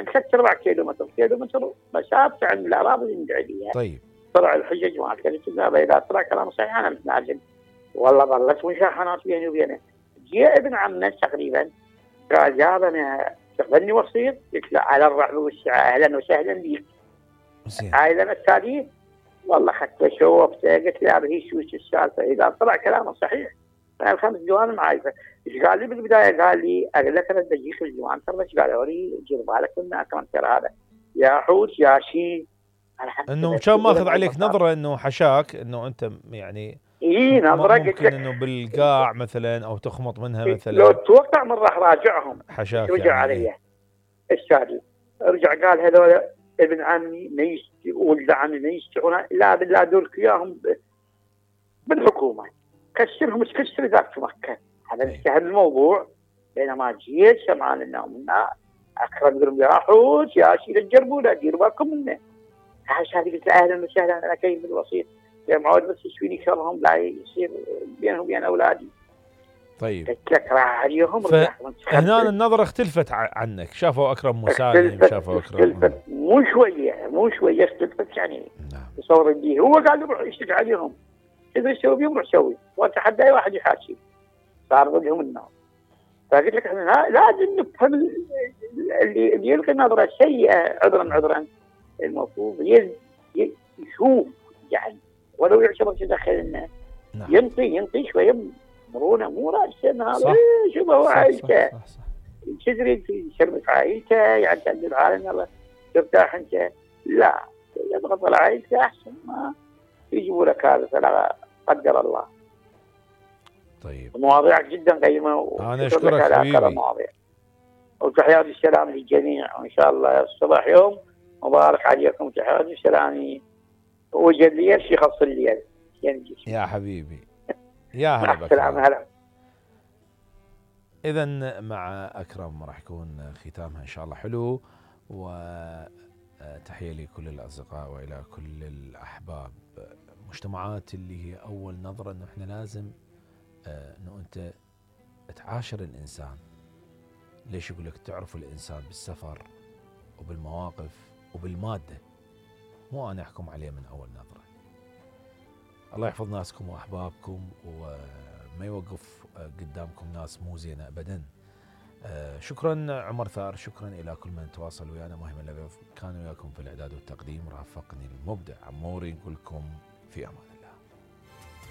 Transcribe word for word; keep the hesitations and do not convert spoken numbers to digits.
حق ثلاث ارباع كيلومتر كيلومتر مسافه عن الاراضي اللي ندعي عليها. طيب طلع الحجج مالت كذا اذا طلع كلام صحيح انا متنازل. والله ظلت مشاحنات بيني وبينه. جاء ابن عمنا تقريبا قال يا انا تقبلني وسيط؟ قلت له على الرحب والسعه اهلا وسهلا بك. هاي انا التالي والله اخذته شوفته قلت له هي شو السالفه اذا طلع كلامه صحيح الخمس ديوان معايفه. ايش قال لي بالبدايه؟ قال لي اقول لك انا بجيك الديوان ترى ايش قالوا لي دير بالك من اكرم ترى هذا يا حوت يا شي انه كان ماخذ عليك نظره انه حشاك انه انت يعني اي نظره ممكن انه بالقاع مثلا او تخمط منها مثلا. لو توقع من راح راجعهم حشاك رجع يعني علي إيه؟ الشادي رجع قال هذول ابن عمي ما يستي ولد عمي ما يستحون لا بالله دورك اياهم بالحكومه كسرهم تكسر ذاك في مكه. هذا انتهى الموضوع. بينما جيت سمعنا انهم اكرم يقولون يا حوت يا شيء تجربوا لا ديروا بالكم منه. عاش هذه قلت اهلا وسهلا انا كيف بالوسيط يا معود بس يشويني شرهم لا يصير بينهم وبين اولادي. طيب قلت لك راح عليهم فهنا النظره اختلفت عنك شافوا اكرم مسالم شافوا اكرم اختلفت مو شويه مو شويه اختلفت يعني. نعم. تصور بيه هو قال له روح يشتكي عليهم اذا يسوي بيهم روح سوي واتحدى اي واحد يحاسب صار ضدهم النار. فقلت لك احنا لازم نفهم اللي, اللي يلقي نظره سيئه عذرا عذرا المفروض يشوف يعني ولو يعتبر يدخل لنا. نعم. ينطي ينطي شويه مرونه مو راسا هذا شو هو عائلته تدري في شربة عائلته يعني تعدل العالم يلا ترتاح انت لا يضغط على عائلته احسن ما يجيبوا لك هذا فلا قدر الله. طيب مواضيعك جدا قيمه انا اشكرك حبيبي وتحياتي السلام للجميع وان شاء الله الصباح يوم مبارك عليكم. تحياتي السلام وجد لي الشيء خاص الليل يا حبيبي يا هلا بك. السلام هلا. اذا مع اكرم راح يكون ختامها ان شاء الله حلو. وتحيه لكل الاصدقاء والى كل الاحباب. مجتمعات اللي هي اول نظره انه احنا لازم انه انت تعاشر الانسان. ليش يقول لك تعرف الانسان بالسفر وبالمواقف وبالماده مو انا احكم عليه من اول نظره. الله يحفظ ناسكم واحبابكم وما يوقف قدامكم ناس مو زينه ابدا. شكرا عمر ثار. شكرا الى كل من تواصل ويانا. مهم اللي كانوا وياكم في الاعداد والتقديم رافقني المبدع عموري. نقول لكم في امان.